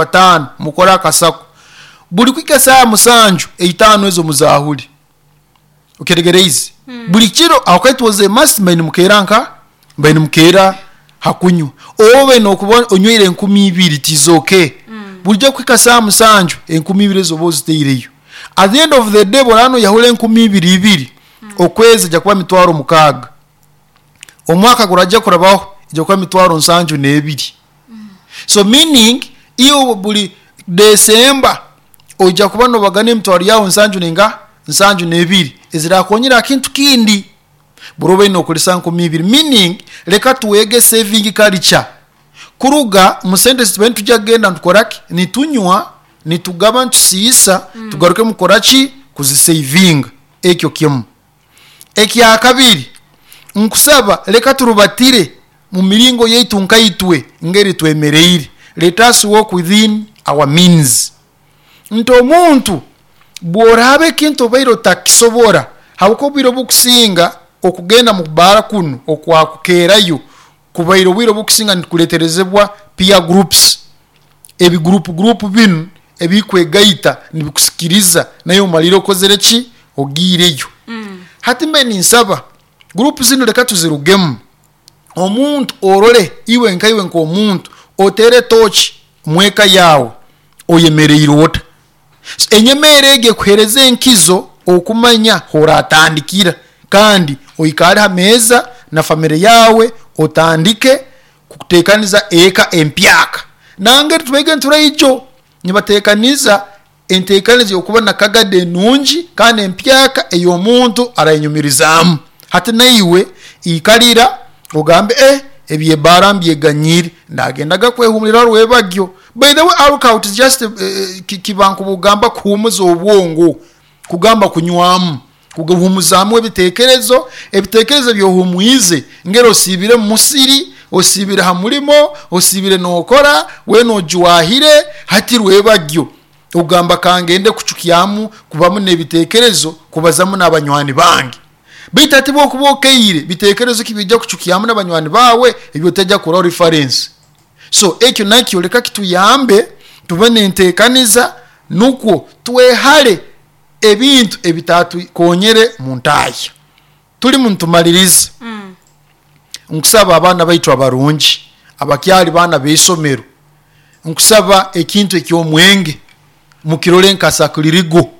Bataano mukore akasako. Buli kuhika esaaha musanju, eitaano ezo muzaahule. Okyetegereize? Buli kiro aho ka it was a must mbaire nimukeera nka? Mbaire nimukeera ha kunywa. Obe nokuba onyweire enkumi ibiri it is okay. Bulijo kuhika saaha musanju, enkumi ibiri ezo oba ozitaireyo. At the end of the day bworaba noyahura enkumi ibiri ibiri, okwezi eja kuba mitwaro mukaaga. Omwaka guraija kurabaho eja kuba mitwaro nsanju n'ebiri. So meaning iwe buri December oija kuba nobagana emitwaro yaawe nsanju nenga? Nsanju n'ebiri ezirakukonyera aha kintu kindi. Buri obaire nokoresa nkumi ibiri meaning reka twege saving culture kuruga omu sente ezi tubaire nitwija kugenda nitukora ki? Nitunywa, nitugaba, nitusiisa tugarukemu kukora ki? Kuzisavinga. Ekyo kimu. Ekyakabiri, nkusaba leka turubatire mu miringo yaitu nkaitwe ngeri twemereire, let us walk within our means. Nti omuntu bworaaba ekintu obaire otakisobora, habwokuba obwire obukusinga okugenda mu baara kunu okwakukeerayo kubaire obwire obukusinga nikureterezebwa peer groups, ebi group group binu ebikwegaita nibikusikiriza naiwe omalire okozire ki? Ogiireyo. Hati mbe ninsaba group zinu leka tuzirugemu, omuntu orole iwe nkaiwe nk'omuntu oteere tooki mweka yaawe oyemereire ota? So enyemeera egyo ekuhereza enkizo okumanya horatandikira kandi oikaare ha meeza na famire yaawe otandike kutekaniza eka empyaka. Nangeri tubaire nituraija nibatekaniza entekaniza ey'okuba na kagada enungi kandi empyaka ey'omuntu arayenyumirizaamu. Hati naiwe ikalira ogambe, Eh, eby'ebbaara mbyeganyiire, ndagendaga kwehumuliraho rwebagyo. By the way, alcohol is just kiba nk'obugamba kuhumuza obwongo, kugamba kunywamu, kuhumuzaamu ebitekerezo. Ebitekerezo ebi ohumwize ngeri osiibire omu musiri, osiibire ha mulimo, osiibire n'okora, weena ojwahire, hati rwebagyo ogamba kangende kucukyamu, kubamu n'ebitekerezo, kubazamu n'abanywani bange. Baitu hati bwokuba okaire, bitekerezo ki ebiija kucukyamu n'abanywani baawe ebi otaija kukoraho reference? So ekyo nakyo leka kituyambe tube n'entekaniza nukwo twehale ebintu ebitatukonyere mu ntahya. Tulimu nitumaliriza, nkusaba abaana baitu abarungi abakyali baana b'isomero, nkusaba ekintu eky'omwenge mukirole nka sakulirigo,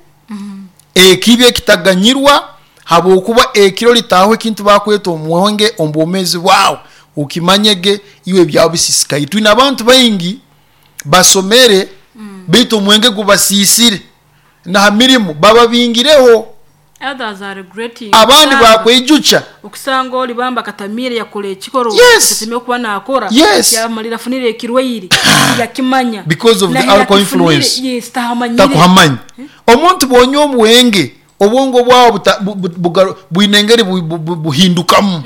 ekibi ekitaganyirwa habwokuba ekiro litaaho ekintu bakweta omwenge omu bwomeezi bwawe, okimanyege iwe ebyawe bisisikaire. Twine abantu baingi basomere baitu omwenge gubasiisire, na ha mirimo bababingireho. Others are regretting Abandi okusanga bakweijukya. okusanga ori bambi akatamiire yakora ekikorwa Yes. ekyasemeriire kuba nakora Yes. yamalira afunire ekirwaire tiyakimanya Because of the nahi alcohol yakifunire influence. yes tahamanyire. Takuhamanya. Omuntu bwonywa omwenge, obwongo bwawe bwine engeri buhindukamu.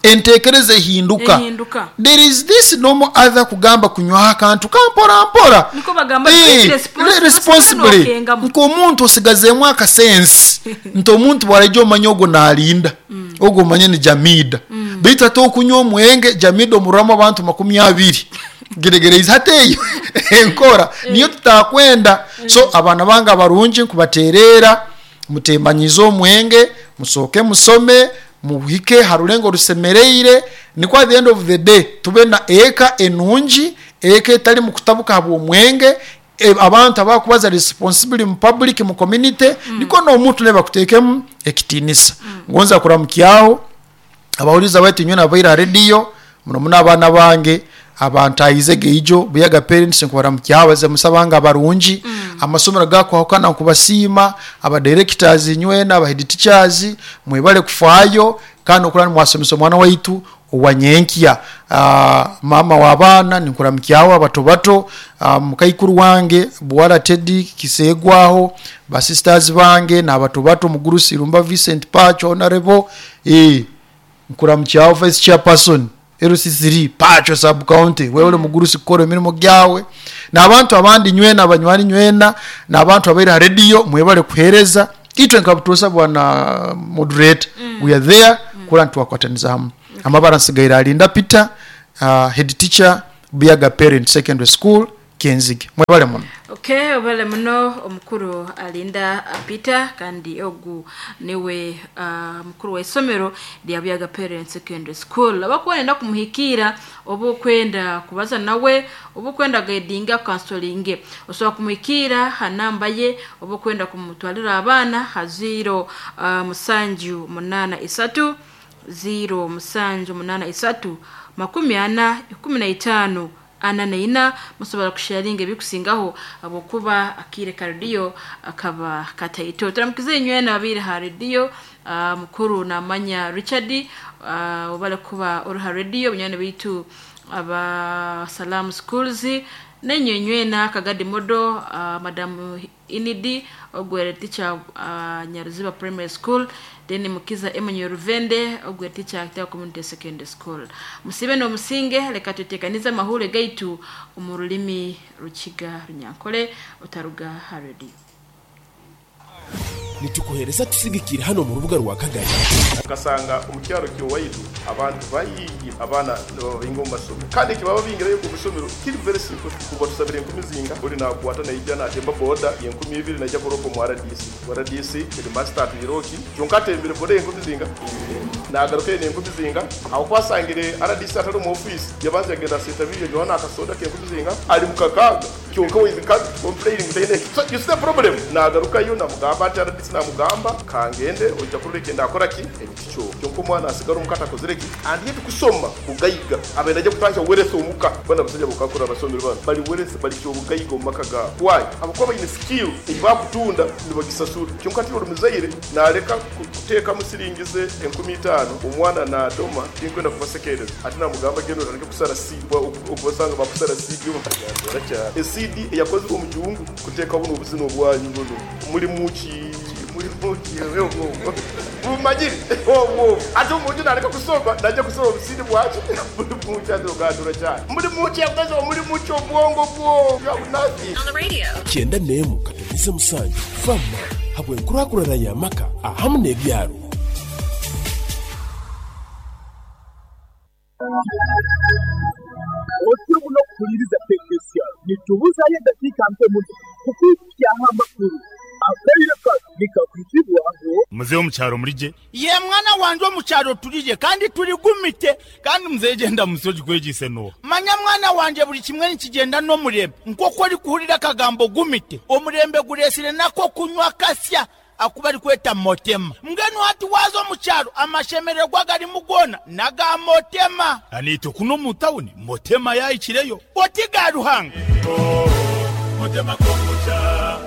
Entekereza ehinduka. Ehinduka. There is this normal other kugamba kunywaho akantu ka mpora mpora. Nikwo bagamba drink Responsibly. nokengamu. Nk'omuntu osigazeemu akasense nti omuntu bwaraija omanye ogwo narinda, ogwo omanye ni Jamida. Baitu hati okunywa omwenge Jamida omurwamu abantu makumi abiri. Geregereize hati eyo enkora niyo tutakwenda. So abaana bange abarungi nkubatereera mutemanyiize omwenge, musooke musome, muhike ha rulengo orusemereire nikwo at the end of the day tube na eka enungi, eka etarimu kutabuka habw'omwenge, abantu abakubaza responsibly mu public, mu community, nikwo n'omuntu nawe bakuteekemu ekitiinisa. Ngonza kuramukyaho abahuriza baitu nyowe nabaire ha rediyo, muno muno abaana bange abantahize geijo Buyaga parents nkubaramukyaho abazamusa bange abarungi, amasomero agakwahukana nkubasiima, aba directors inywena, aba head teachers mwebale kufaayo kandi nokurora nimwasomesa omwana waitu owa nyenkya. Maama w'abaana ninkuramukyaho abato bato, mukaikuru wange Buwara Teddy Kiseegwaho, ba sisters bange n'abato bato Mugurusi Irumba Vincent Pacho Honorable, Nkuramukyaho Vice Chairperson LC3 Pacho Sub County, webale mugurusi kukora emirimo gyawe, n'abantu abandi nywena, abanywani nywena, n'abantu abaire ha rediyo mwebale kuhereza. Itwe nka Butosa bwana moderator, we are there kurora nti twakwataniza hamu. Amabara nsigaire Alinda Peter, head teacher Buyaga Parent Secondary School. Kenzige. Mwebale muno. Okay, obale muno omukuru Alinda Peter, kandi ogu niwe mukuru wa isomero lya Buyaga Parents Secondary School. Abakwenda kumuhikira, oba okwenda kubaza nawe, oba okwenda guidinga counseling, osobola kumuhikira ha namba ye, oba okwenda kumutwalira abaana ha 0 7 8 3 0 7 8 3 40 15 44. Musobola kusharinga ebikusingaho habwokuba akire ka rediyo akaba kataito. Turamukize inywena abire ha rediyo. Mukuru namanya Richard, obale kuba ori ha rediyo, bunywani bitu aba Salam Schools nenyo nywena Kagadi Modo, Madamu Inidi ogwere teacher, Nyaruziba Primary School, then Mukiza Emmanuel Ruvende ogwere teacher Kitaba Community Secondary School. Musibe n'omusinge, leka tutekanize amahule gaitu omu rulimi Rukiga Runyankole. Otaruga ha rediyo. Nitukuhereza tusigikira hano mu rubuga rwa Kagari. Ugasanga mu cyaro cy'iwaitu abantu bayingi abana babinga mu masomero, kandi kibaba bingirayo ku masomero kiri very simple. Kuba tusabira 10 zinga uri nakwata naija natemba boda 2000 najja kuropo mu RDC. RDC headmaster atuiroki kyonka atembere boda 10 zinga, nagaruka ene 10 zinga. Aho kwasangire RDC atari mu office, yabanza yagenda seta biyo Yohana akasoda ke 10 zinga ari mukakaga, kyonka with complaining tene. So you see the problem. Nagaruka yo namugamba ati RDC namugamba kangende ojja kureka ndakora ki ekikyo, kyonka omwana asigara omukata akozire ki. And yet kusoma bugayiga abenda ajja kutandika weresa omuka. Bana basajja bukakura abasomero bano bali weresa bali kyobugayiga omu maka gaabwe. Why? Abakuba bayine skill eyi bakutunda nibagisasura, kyonka ati oli muzaire naleka kuteekamu siringize 5000 omwana nadoma. Tinkwenda kubasekereza ati namugamba genda otandike kusara CD, okubasanga bakusara CD cyane ecd eyakozwe omu gihugu kuteeka buno obuzina obwanyu buno muri muki muri muki bumanyire obwo. Ate omuntu naleka kusoma najja kusoma obusidi bwaki muri muki ate ogandura cyane muri muki yakoze muri muki obwongo bwo. You have nothing. 91.7 fama habwenkurakurana y'amaka ahamu n'ebyaro. Otyo muno kuhuliriza tekesya nitubuzayo edakiika nke muno kukwikyaho amakuru akaire kano nikakwizibwaho. Muzehe omukyaro murije? Ye mwana wanje, omukyaro turije kandi turigumite kandi. Muzehe, genda musoji kwegise no. Manya mwana wanje, buli kimwe nikigenda n'omurembe. Nk'oku ori kuhurira akagambo gumite, omurembe guresire nako kunywa kasya akuba ari kweta motema. Mbwenu hati waza omukyaro amashemererwa garimu gona naga motema. Anito kuno mu tawuni motema yayikireyo. Oti ga Ruhanga. Motema kombucha.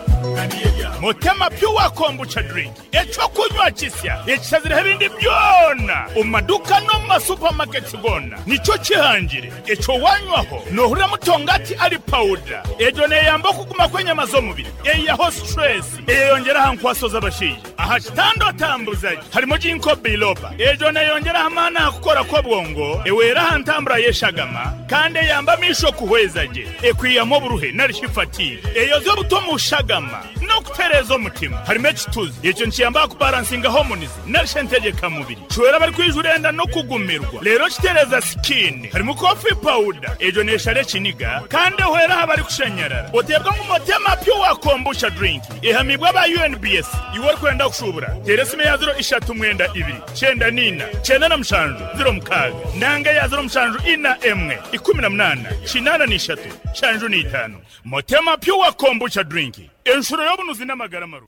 Motema Pure Kombucha drink, ekyokunywa kisya ekishazireho ebindi byona omu maduka no mu masupamaketi gona. Nikyo kihangire ekyo wanywaho nohurira mutongati ari pawuda. Egyo neyamba okuguma kw'enyama z'omubiri, eyaho stress, eyeyongera aha nkwaso z'abashaija aha kitanda otambuzaje. Harimo ginkgo biloba, egyo neyongera amaani aha kukora kw'obwongo, ewera aha ntambura y'eshagama kandi eyamba amisho kuhweza gye, ekwiyamu oburuhe nari fatigue, eyoza obuto mu shagama n'okutereeza omutima. Harimo ekituzi, ekyo nikiyamba kubalansinga hormones nari entegekamubiri, kiwera bari kwijura enda no kugumirwa rero kitereza skin. Harimo coffee powder, egyo neshara ekiniga kandi ehwera aha bari kushanyarara. Otebwa ngu Motema Pure Kombucha drink ehamibwa aba UNBS. Iwe orikwenda kushubura, tera esimu ya 039 94 97 06 nanga ya 0741 18 83 75. Motema Pure Kombucha drink, enshuro y'obunuzi n'amagara maru.